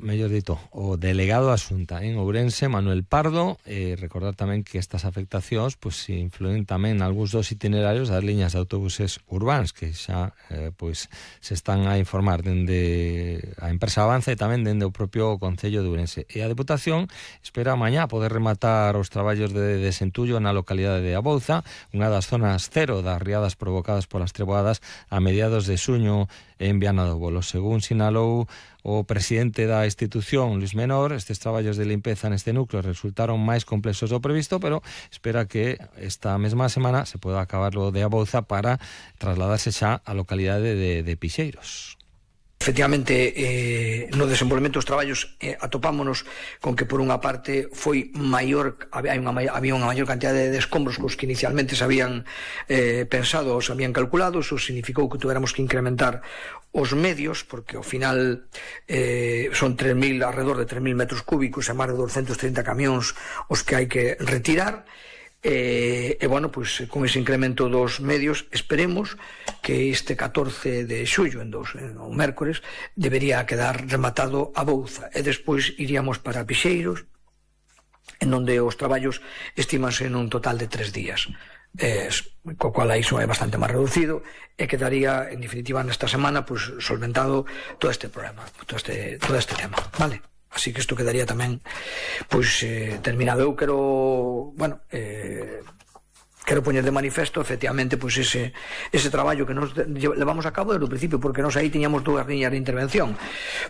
mellor dito, o delegado da Xunta en Ourense, Manuel Pardo. Recordar tamén que estas afectacións pois influen tamén algúns dos itinerarios das liñas de autobuses urbáns que xa pois se están a informar dende a empresa Avanza e tamén dende o propio Concello de Ourense. E a Deputación espera mañá poder rematar os traballos de desentullo na localidade de Abouza, unha das zonas cero das riadas provocadas polas treboadas a mediados de xuño en Viana do Bolo. Según sinalou o presidente da institución, Luis Menor, estes traballos de limpeza neste núcleo resultaron máis complexos do previsto, pero espera que esta mesma semana se poda acabar lo de Abouza para trasladarse xa á localidade de Pixeiros. Efectivamente, no desenvolvemento dos traballos atopámonos con que por unha parte foi maior, había unha maior cantidade de escombros cos que inicialmente se habían pensado ou se habían calculado. Eso significou que tuéramos que incrementar os medios, porque ao final son alrededor de 3.000 metros cúbicos e máis de 230 camións os que hai que retirar. Bueno, pues con ese incremento dos medios esperemos que este 14 de xullo, un mércores, debería quedar rematado Abouza e despois iríamos para Pixeiros, en onde os traballos estimanse nun total de 3 días. Co cual iso é bastante máis reducido e quedaría, en definitiva, nesta semana pues solventado todo este problema, todo este tema, vale? Así que isto quedaría tamén pois terminado. Eu quero poñer de manifesto efectivamente pois ese traballo que nos levamos a cabo desde o principio, porque nos aí tiñamos dúas liñas de intervención.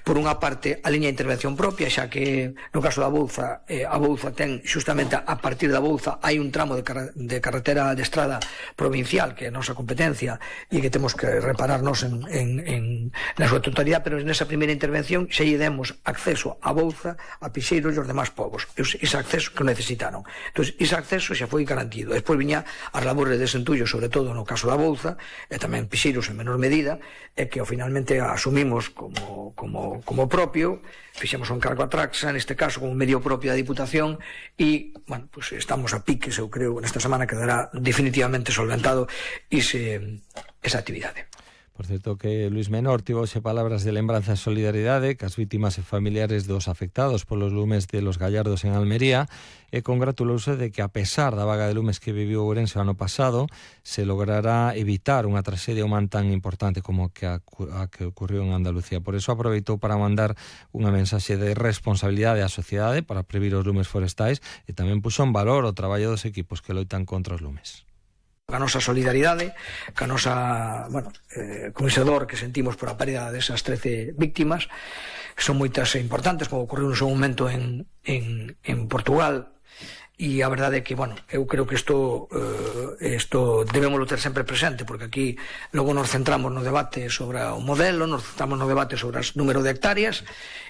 Por unha parte a liña de intervención propia, xa que no caso da Abouza, Abouza ten xustamente a partir da Abouza hai un tramo de carretera de estrada provincial que é a nosa competencia e que temos que repararnos na súa totalidade, pero nesa primeira intervención xa lle demos acceso a Abouza, a Pixeiros e os demás povos, ese acceso que necesitaron. Entón, ese acceso xa foi garantido. Despois viña as labores de desentullo, sobre todo no caso da Abouza e tamén Pixeiros en menor medida, e que finalmente asumimos como propio, fixemos un cargo a Traxa, neste caso como medio propio da Diputación, e, bueno, pues estamos a piques, eu creo, nesta semana quedará definitivamente solventado esa actividade. Por certo que Luis Menor tivoxe palabras de lembranza e solidaridade cas vítimas e familiares dos afectados polos lumes de Los Gallardos en Almería e congratulouse de que a pesar da vaga de lumes que viviu Ourense o ano pasado se logrará evitar unha traxedia humana tan importante como a que ocurriu en Andalucía. Por eso aproveitou para mandar unha mensaxe de responsabilidade á sociedade para previr os lumes forestais e tamén puxo en valor o traballo dos equipos que loitan contra os lumes. A nosa solidaridade, a nosa, con ese dor que sentimos por a pérdida desas 13 víctimas, son moitas e importantes, como ocorreu no seu momento en Portugal, e a verdade é que, eu creo que isto debemos ter sempre presente, porque aquí logo nos centramos no debate sobre o modelo, nos centramos no debate sobre o número de hectáreas,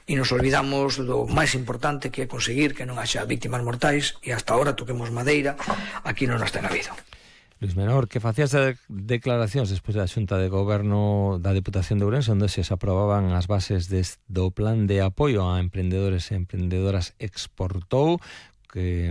e nos olvidamos do máis importante, que é conseguir que non haxa víctimas mortais, e hasta ahora, toquemos madeira, aquí non as ten habido. Luis Menor, que facía as declaracións despois da Xunta de Goberno da Deputación de Ourense, onde se aprobaban as bases do plan de apoio a emprendedores e emprendedoras Exportou, que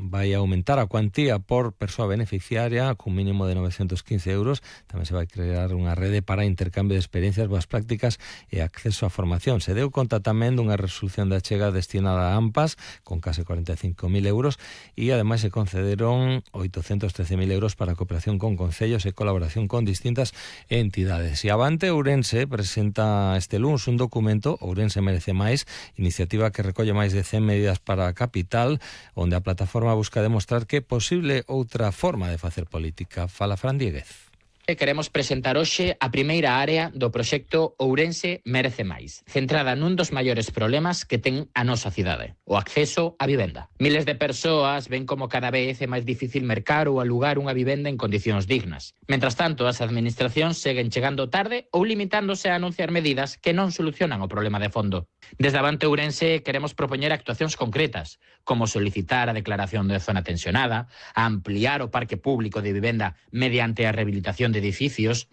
vai aumentar a cuantía por persoa beneficiaria cun mínimo de 915 euros. Tamén se vai crear unha rede para intercambio de experiencias, boas prácticas e acceso á formación. Se deu conta tamén dunha resolución de achega destinada a AMPAs con case 45.000 euros e ademais se concederon 813.000 euros para cooperación con concellos e colaboración con distintas entidades. E Avante Ourense presenta este luns un documento, Ourense merece máis, iniciativa que recolle máis de 100 medidas para a capital, onde a plataforma busca demostrar que é posible outra forma de facer política. Fala Fran Dieguez. Queremos presentar hoxe a primeira área do proxecto Ourense merece máis, centrada nun dos maiores problemas que ten a nosa cidade, o acceso á vivenda. Miles de persoas ven como cada vez é máis difícil mercar ou alugar unha vivenda en condicións dignas. Mentras tanto, as administracións seguen chegando tarde ou limitándose a anunciar medidas que non solucionan o problema de fondo. Desde Avante Ourense queremos propoñer actuacións concretas, como solicitar a declaración de zona tensionada, a ampliar o parque público de vivenda mediante a rehabilitación de edificios,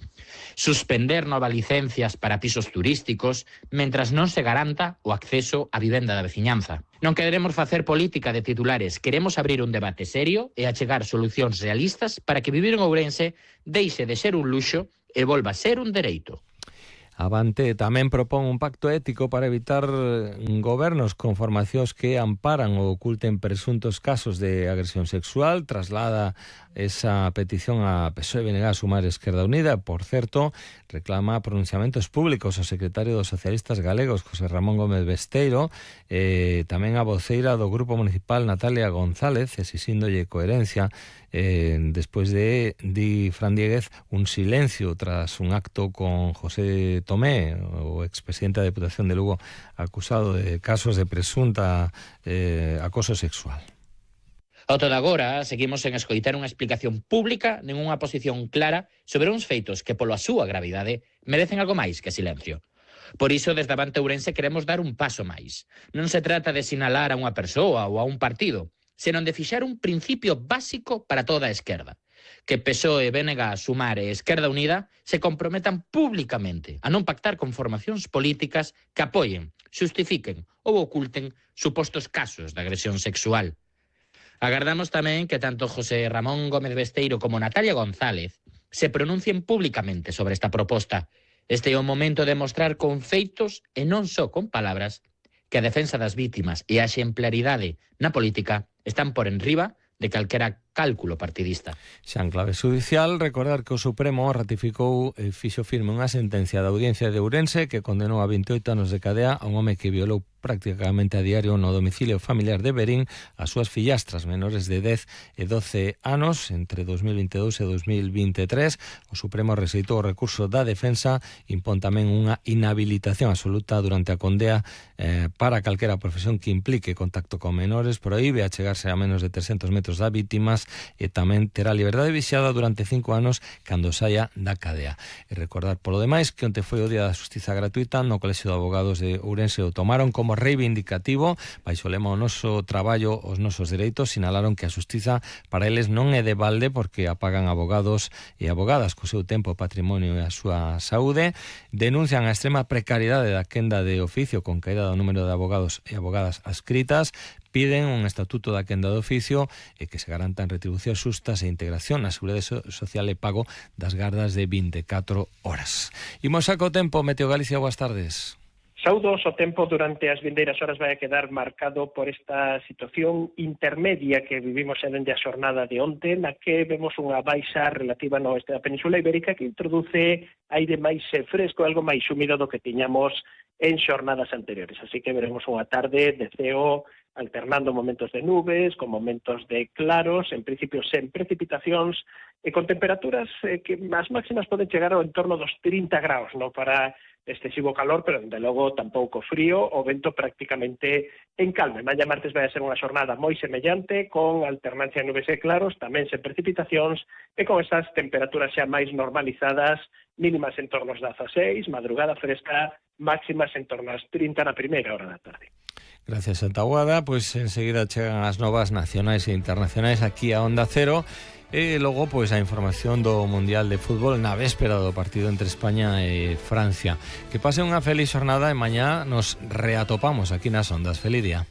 suspender novas licencias para pisos turísticos, mentras non se garanta o acceso á vivenda da veciñanza. Non queremos facer política de titulares, queremos abrir un debate serio e achegar solucións realistas para que vivir en Ourense deixe de ser un luxo e volva a ser un dereito. Avante tamén propón un pacto ético para evitar gobernos con formacións que amparan ou oculten presuntos casos de agresión sexual. Traslada esa petición a PSOE, BNG, Sumar, Esquerda Unida. Por certo, reclama pronunciamentos públicos o secretario dos socialistas galegos, José Ramón Gómez Besteiro, tamén a voceira do Grupo Municipal, Natalia González, exixíndolle coherencia despois de, di Fran Dieguez, un silencio tras un acto con José Tomé, o expresidente da Deputación de Lugo, acusado de casos de presunta acoso sexual. Ao todo agora, seguimos en escoitar unha explicación pública nin unha posición clara sobre uns feitos que, polo a súa gravidade, merecen algo máis que silencio. Por iso, desde Avante Ourense queremos dar un paso máis. Non se trata de sinalar a unha persoa ou a un partido, senón de fixar un principio básico para toda a esquerda. Que PSOE, BNG, Sumar e Esquerda Unida se comprometan públicamente a non pactar con formacións políticas que apoien, xustifiquen ou oculten supostos casos de agresión sexual. Agardamos tamén que tanto José Ramón Gómez Besteiro como Natalia González se pronuncien públicamente sobre esta proposta. Este é o momento de mostrar con feitos e non só con palabras que a defensa das vítimas e a exemplaridade na política están por enriba de calquera cálculo partidista. Xa en clave judicial, recordar que o Supremo ratificou e fixo firme unha sentencia da Audiencia de Ourense que condenou a 28 anos de cadea a un home que violou prácticamente a diario no domicilio familiar de Verín as súas fillastras menores de 10 e 12 anos entre 2022 e 2023. O Supremo rexeitou o recurso da defensa, impón tamén unha inhabilitación absoluta durante a condea para calquera profesión que implique contacto con menores, proíbe achegarse a menos de 300 metros das vítimas e tamén terá liberdade vixiada durante 5 anos cando saia da cadea. E recordar polo demais que onte foi o Día da Xustiza Gratuita no Colexio de Abogados de Ourense, o tomaron como reivindicativo, baixo o lema o noso traballo, os nosos dereitos. Sinalaron que a xustiza para eles non é de balde porque apagan abogados e abogadas co seu tempo, patrimonio e a súa saúde. Denuncian a extrema precariedade da quenda de oficio con caída do número de abogados e abogadas adscritas. Piden un estatuto da quenda de oficio e que se garantan retribucións xustas e integración na seguridade social e pago das gardas de 24 horas. Imos a co tempo. Meteo Galicia, boas tardes. Saudos, o tempo durante as vindeiras horas vai a quedar marcado por esta situación intermedia que vivimos dende a xornada de onte, na que vemos unha baixa relativa no oeste da Península Ibérica que introduce aire máis fresco, algo máis húmido do que tiñamos en xornadas anteriores. Así que veremos unha tarde de ceo alternando momentos de nubes, con momentos de claros, en principio sen precipitacións, e con temperaturas que as máximas poden chegar ao entorno dos 30 graus, non para excesivo calor, pero de logo tampouco frío, o vento prácticamente en calma. Mañá martes vai a ser unha xornada moi semellante, con alternancia de nubes e claros, tamén sen precipitacións, e con esas temperaturas xa máis normalizadas, mínimas en torno aos 16, madrugada fresca, máximas en torno aos 30 na primeira hora da tarde. Gracias, Santaguada. Pois enseguida chegan as novas nacionais e internacionais aquí a Onda Cero. E logo, pois, a información do Mundial de Fútbol na véspera do partido entre España e Francia. Que pase unha feliz xornada e mañá nos reatopamos aquí nas ondas. Feliz día.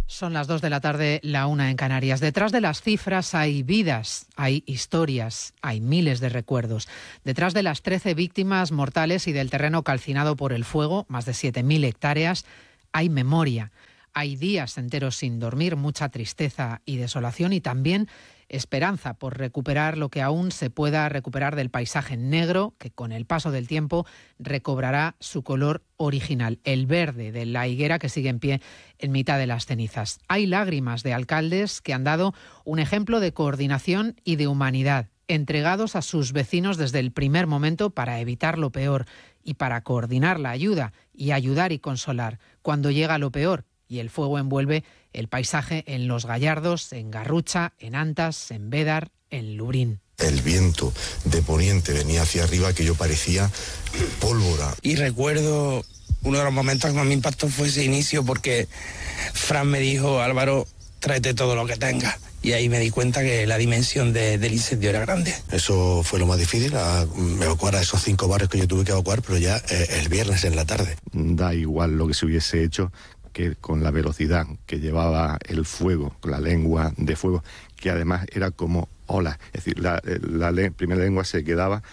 Son las 2 de la tarde, la 1 en Canarias. Detrás de las cifras hay vidas, hay historias, hay miles de recuerdos. Detrás de las 13 víctimas mortales y del terreno calcinado por el fuego, más de 7.000 hectáreas, hay memoria. Hay días enteros sin dormir, mucha tristeza y desolación y también esperanza por recuperar lo que aún se pueda recuperar del paisaje negro que con el paso del tiempo recobrará su color original, el verde de la higuera que sigue en pie en mitad de las cenizas. Hay lágrimas de alcaldes que han dado un ejemplo de coordinación y de humanidad, entregados a sus vecinos desde el primer momento para evitar lo peor y para coordinar la ayuda y ayudar y consolar cuando llega lo peor y el fuego envuelve el paisaje en Los Gallardos, en Garrucha, en Antas, en Bédar, en Lurín. El viento de poniente venía hacia arriba que yo parecía pólvora. Y recuerdo uno de los momentos que más me impactó fue ese inicio porque Fran me dijo, Álvaro, tráete todo lo que tengas. Y ahí me di cuenta que la dimensión del incendio era grande. Eso fue lo más difícil, evacuar a esos 5 barrios que yo tuve que evacuar, pero ya el viernes en la tarde. Da igual lo que se hubiese hecho, que con la velocidad que llevaba el fuego, con la lengua de fuego, que además era como olas, es decir, la primera lengua se quedaba